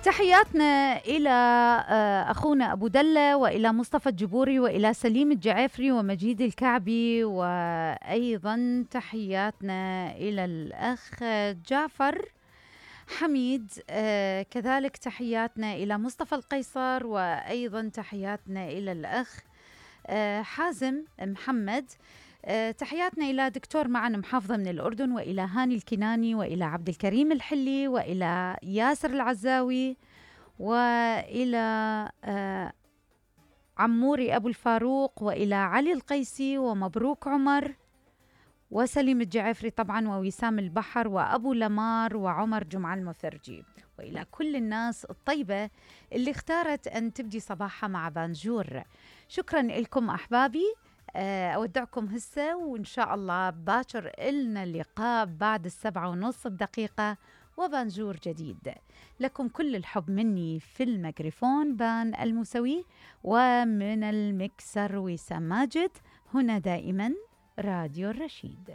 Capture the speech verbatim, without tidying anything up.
تحياتنا إلى أخونا أبو دلة، وإلى مصطفى الجبوري، وإلى سليم الجعافري ومجيد الكعبي، وأيضا تحياتنا إلى الأخ جعفر حميد، كذلك تحياتنا إلى مصطفى القيصر، وأيضا تحياتنا إلى الأخ حازم محمد. تحياتنا إلى دكتور معن محافظة من الأردن، وإلى هاني الكناني، وإلى عبد الكريم الحلي، وإلى ياسر العزاوي، وإلى عموري أبو الفاروق، وإلى علي القيسي، ومبروك عمر، وسليم الجعفري طبعا، ووسام البحر، وأبو لمار، وعمر جمعة المثرجي، وإلى كل الناس الطيبة اللي اختارت أن تبدي صباحها مع بانجور. شكرا لكم أحبابي، أودعكم هسه، وإن شاء الله باكر إلنا اللقاء بعد السبعة ونص بدقيقة وبانجور جديد. لكم كل الحب مني في الميكروفون بان الموسوي، ومن المكسر وسام ماجد. هنا دائما راديو الرشيد.